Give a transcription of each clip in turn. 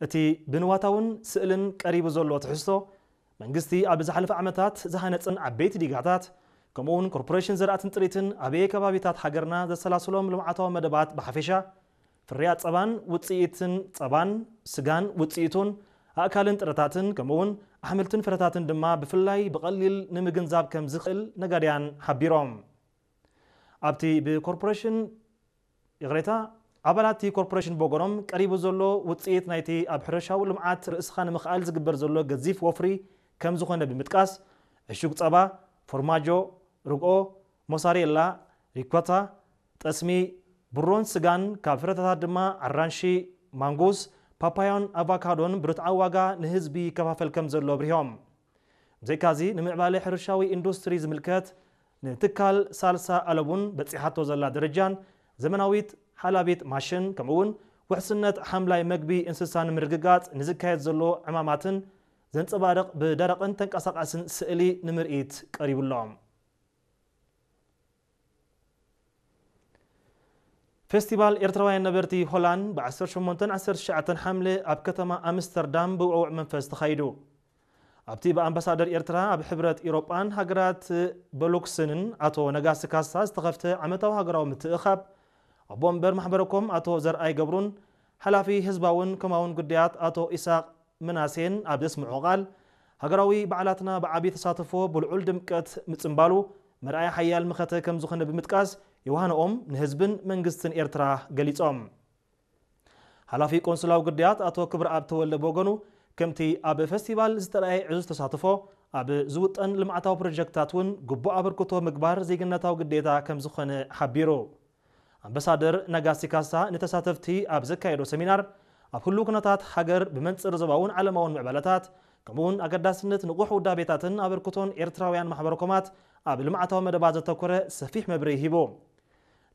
እቲ ብንዋታውን ስእልን ቀሪቡ ዘሎ ትሕዝቶ፣ መንግስቲ ኣብ ዝሓለፈ ዓመታት ዝሃነጸን ዓበይቲ ዲጋታት፣ ከምኡውን ኮርፖሬሽን ዘርኣትን ጥሪትን ኣበየ ከባቢታት ሃገርና ዘሰላስሎም ልምዓታዊ መደባት ብሓፈሻ፣ ፍርያት ጸባን ውጽኢትን ጸባን፣ ስጋን ውጽኢቱን፣ ኣእካልን ጥረታትን፣ ከምኡውን ኣሕምልትን ፍረታትን ድማ ብፍላይ ብቐሊል ንምግንዛብ ከም ዝኽእል ነጋድያን ሓቢሮም። ኣብቲ ብኮርፖሬሽን፣ ይቕሬታ፣ ኣባላት እቲ ኮርፖሬሽን ብወገኖም ቀሪቡ ዘሎ ውጽኢት ናይቲ ኣብ ሕርሻዊ ልምዓት ርእስኻ ንምኽኣል ዝግበር ዘሎ ገዚፍ ወፍሪ ከም ዝኾነ ብምጥቃስ፣ ዕሹግ ጸባ፣ ፎርማጆ፣ ርግኦ፣ ሞሳሬላ፣ ሪኮታ፣ ጠስሚ፣ ብሮን ስጋን፣ ካብ ፍረታት ድማ ኣራንሺ፣ ማንጎስ፣ ፓፓዮን ኣቫካዶን ብርትዓዊ ዋጋ ንህዝቢ ይከፋፈል ከም ዘሎ ኣብሪሆም። ብዘይካዚ፣ ንምዕባለ ሕርሻዊ ኢንዱስትሪ ዝምልከት ንትካል ሳልሳ ኣለቡን በጺሓቶ ዘላ ደረጃን ዘመናዊት ሓላቢት ማሽን፣ ከምኡውን ውሕስነት ሓምላይ መግቢ እንስሳ ንምርግጋጽ ንዝካየድ ዘሎ ዕማማትን ዘንጸባርቕ ብደረቕን ተንቀሳቓስን ስእሊ ንምርኢት ቀሪቡ ኣሎ። ፌስቲቫል ኤርትራውያን ነበርቲ ሆላንድ ብ ዓሰርተ ሸሞንተን ዓሰርተ ትሽዓተን ሓምለ ኣብ ከተማ ኣምስተርዳም ብውዕዉዕ መንፈስ ተኻይዱ። ኣብቲ ብኣምባሳደር ኤርትራ ኣብ ሕብረት ኢሮጳን ሃገራት በሉክስንን ኣቶ ነጋሲ ካሳ ዝተኸፍተ ዓመታዊ ሃገራዊ ምትእኻብ፣ ኣቦ ወንበር ማሕበረኮም ኣቶ ዘርኣይ ገብሩን ሓላፊ ህዝባውን ኮማውን ጉዳያት ኣቶ ኢሳቕ ምናሴን ኣብ ዘስምዖ ቃል፣ ሃገራዊ በዓላትና ብዓቢ ተሳትፎ ብልዑል ድምቀት ምጽንባሉ መርኣያ ሓያል መኸተ ከም ዝኾነ ብምጥቃስ፣ የውሃንኦም ንህዝብን መንግስትን ኤርትራ ገሊጾም። ሓላፊ ቆንስላዊ ጉዳያት ኣቶ ክብረኣብ ተወልደ ብወገኑ፣ ከምቲ ኣብ ፈስቲቫል ዝተረኣየ ዕዙዝ ተሳትፎ፣ ኣብ ዝውጠን ልምዓታዊ ፕሮጀክትታት እውን ግቡእ ኣበርክቶ ምግባር ዜግነታዊ ግዴታ ከም ዝኾነ ሓቢሩ። ኣምባሳደር ነጋሲ ካሳ ንተሳተፍቲ ኣብ ዘካየዶ ሰሚናር፣ ኣብ ህሉው ኩነታት ሃገር ብመንጽር ዞባውን ዓለማውን ምዕባለታት፣ ከምኡውን ኣገዳስነት ንቑሕ ውዳቤታትን ኣበርክቶን ኤርትራውያን ማሕበረኮማት ኣብ ልምዓታዊ መደባት ዘተኮረ ሰፊሕ መብርሂ ሂቡ።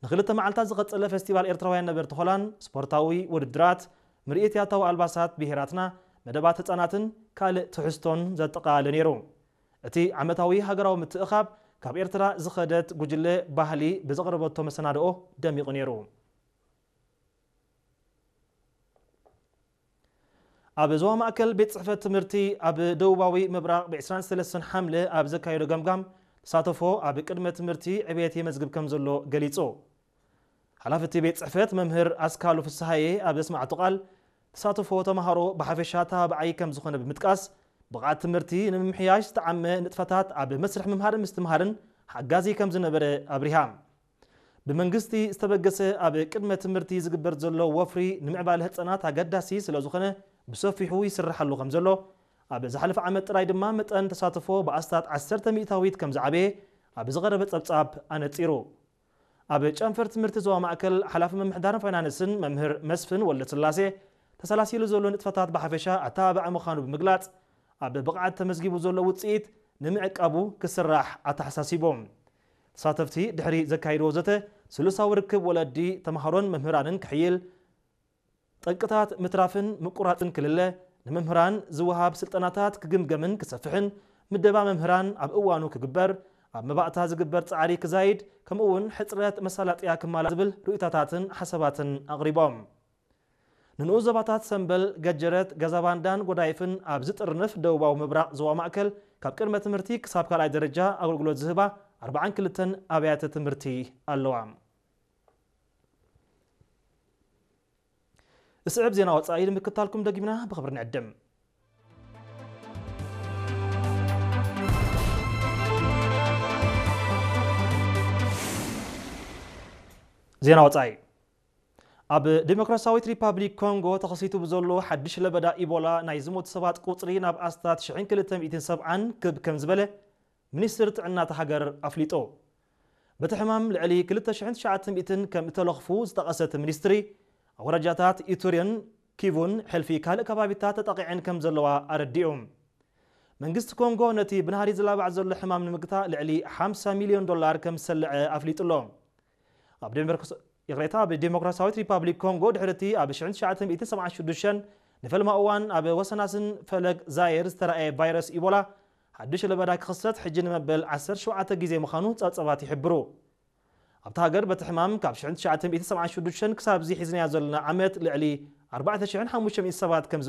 ንኽልተ መዓልታት ዝቐጸለ ፈስቲቫል ኤርትራውያን ነበርቲ ሆላንድ፣ ስፖርታዊ ውድድራት፣ ምርኢት ያታዊ ኣልባሳት ብሄራትና፣ መደባት ህጻናትን ካልእ ትሕዝቶን ዘጠቓለለ ነይሩ። እቲ ዓመታዊ ሃገራዊ ምትእኻብ፣ ካብ ኤርትራ ዝኸደት ጉጅለ ባህሊ ብዘቕረበቶ መሰናድኦ ደሚቑ ነይሩ። ኣብ ዞባ ማእከል ቤት ጽሕፈት ትምህርቲ ኣብ ደቡባዊ ምብራቕ ብ ዕስራን ሰለስተን ሓምለ ኣብ ዘካየዶ ገምጋም፣ ተሳተፎ ኣብ ቅድመ ትምህርቲ ዕብየት የመዝግብ ከም ዘሎ ገሊጹ። ሓላፊ እቲ ቤት ጽሕፈት መምህር ኣስካሉ ፍስሃየ ኣብ ዘስማዕቶ ቃል፣ ተሳትፎ ተማሃሮ ብሓፈሻ ተባባዓይ ከም ዝኾነ ብምጥቃስ፣ ብቕዓት ትምህርቲ ንምምሕያሽ ዝተዓመ ንጥፈታት ኣብ መስርሕ ምምሃርን ምስትምሃርን ሓጋዚ ከም ዝነበረ ኣብሪሃ። ብመንግስቲ ዝተበገሰ ኣብ ቅድመ ትምህርቲ ዝግበር ዘሎ ወፍሪ ንምዕባለ ህጻናት ኣገዳሲ ስለ ዝኾነ፣ ብሰፊሑ ይስርሓሉ ከም ዘሎ፣ ኣብ ዝሓለፈ ዓመት ጥራይ ድማ መጠን ተሳትፎ ብኣስታት ዓሰርተ ሚእታዊት ከም ዝዓበየ ኣብ ዝቐረበ ጸብጻብ ኣነጺሩ። ኣብ ጨንፈር ትምህርቲ ዞባ ማእከል ሓላፊ ምምሕዳርን ፋይናንስን መምህር መስፍን ወልደስላሴ፣ ተሰላሲሉ ዘሎ ንጥፈታት ብሓፈሻ ኣተባባዒ ምዃኑ ብምግላጽ፣ ኣብ ብቕዓት ተመዝጊቡ ዘሎ ውጽኢት ንምዕቃቡ ክስራሕ ኣተሓሳሲቦም። ተሳተፍቲ ድሕሪ ዘካይድዎ ዘተ፣ ስሉሳዊ ርክብ ወለዲ፣ ተምሃሮን መምህራንን ክሕይል፣ ጠንቅታት ምትራፍን ምቁራጽን ክልለ፣ ንመምህራን ዝወሃብ ስልጠናታት ክግምገምን ክሰፍሕን፣ ምደባ መምህራን ኣብ እዋኑ ክግበር፣ ኣብ መባእታ ዝግበር ጻዕሪ ክዛይድ፣ ከምኡ እውን ሕጽረት መሳለጥያ ክማላ ዝብል ርእይቶታትን ሓሳባትን ኣቕሪቦም። ንንኡስ ዞባታት ሰምበል፣ ገጀረት፣ ገዛባንዳን ጎዳይፍን ኣብ ዝጥርንፍ ደቡባዊ ምብራቕ ዞባ ማእከል፣ ካብ ቅድመ ትምህርቲ ክሳብ ካልኣይ ደረጃ ኣገልግሎት ዝህባ ኣርባዓን ክልተን ኣብያተ ትምህርቲ ኣለዋ። ዝስዕብ ዜና ወጻኢ ንምክታልኩም ደጊምና ብኽብሪ ንዕድም። ዜና ወጻኢ። ኣብ ዲሞክራሲያዊት ሪፓብሊክ ኮንጎ ተኸሲቱ ብዘሎ ሓድሽ ለበዳ ኢቦላ ናይ ዝሞቱ ሰባት ቁጽሪ ናብ ኣስታት ሽሕን ክልተ ሚእትን ሰብዓን ክብ ከም ዝበለ ሚኒስትሪ ጥዕና እታ ሃገር ኣፍሊጡ። በቲ ሕማም ልዕሊ ክልተ ሽሕን ትሽዓተ ሚእትን ከም እተለኽፉ ዝጠቐሰ እቲ ሚኒስትሪ፣ ኣውራጃታት ኢቱሪን ኪቡን ሕልፊ ካልእ ከባቢታት ተጠቒዐን ከም ዘለዋ ኣረዲኡ። መንግስቲ ኮንጎ ነቲ ብናህሪ ዝላባዕ ዘሎ ሕማም ንምግታእ ልዕሊ ሓምሳ ሚልዮን ዶላር ከም ዝሰልዐ ኣፍሊጡ ኣሎ። ኣብ ዴሞክራሲ-፣ ይቕሬታ፣ ኣብ ዴሞክራሲያዊት ሪፓብሊክ ኮንጎ ድሕሪ እቲ ኣብ ሽሕን ትሽዓተ ሚእትን ሰብዓን ሽዱሽተን ንፈልማ እዋን ኣብ ወሰናስን ፈለግ ዛየር ዝተራእየ ቫይረስ ኢቦላ ሓድሽ ለበዳ ክኽሰት ሕጂ ንመበል ዓሰርተ ሸውዓተ ግዜ ምዃኑ ጸብጻባት ይሕብሩ። ኣብታ ሃገር በቲ ሕማም ካብ ሽሕን ትሽዓተ ሚእትን ሰብዓን ሽዱሽተን ክሳብ እዚ ሒዝናዮ ዘለና ዓመት ልዕሊ ኣርባዕተ ሽሕን ሓሙሽተ ሚእትን ሰባት ከም